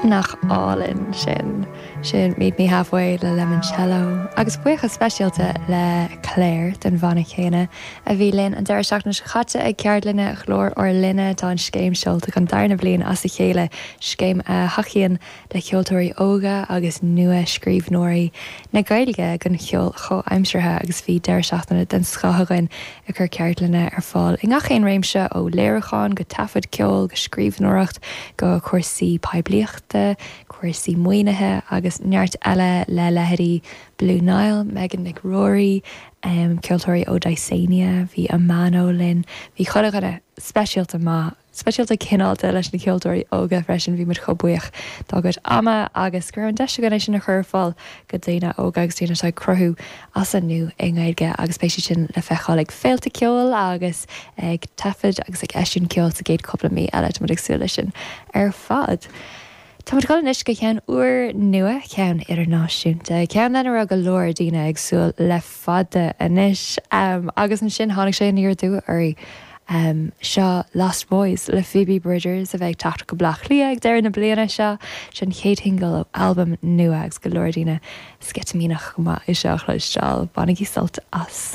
Nach álainn sin? Sin Meet Me Halfway le Lemoncello. Agus buíochas speisialta le Claire den bhanna céanna a bhí linn an deireadh seachtaine seo caite ag ceardlanna Ghlór ár Linne. Tá an scéim seolta don darna bliain as a chéile, scéim a thacaíonn le ceoltóirí óga agus nua-scríbhneoirí na Gaeilge don cheol chomhaimseartha agus bhí deireadh seachtaine den scoth againn ag cur ceardlanna ar fáil i ngach aon réimse ó léiriúchán go taifead ceoil go scríbhneoireacht go cúrsaí poiblíochta, cúrsaí maoinithe agus neart eile le leithéidí Blue Niall, Megan Nic Ruairí, ceoltóirí ó Dysania, bhí Amano linn, bhí chuile dhuine speisialta maith. Speisialta cineálta leis na ceoltóirí óga freisin, bhí muid chomh buíoch dá gcuid ama agus go raibh an deis againn é sin a chur ar fáil go daoine óga agus daoine atá ag cruthú as an nua i nGaeilge agus beidh siad sin le feiceáil ag féilte ceoil agus ag taifead agus ag eisiúint ceoil sa gcéad cúpla mí eile, tá muid ag súil leis sin ar fad. Tá muid ag dul anois go ceann úr nua, ceann idirnáisiúnta, ceann lena raibh go leor daoine ag súil le fada anois. Agus ansin tháinig sé aniar aduaidh orainn. Seo Lost Boys le Phoebe Bridgers a bheidh ag teacht go Bleá Cliath ag deireadh na bliana seo. Seo an chéad shingil ó albam nua agus go leor daoine sceitimíneach go maith é seo a chloisteáil. Bainigí sult as.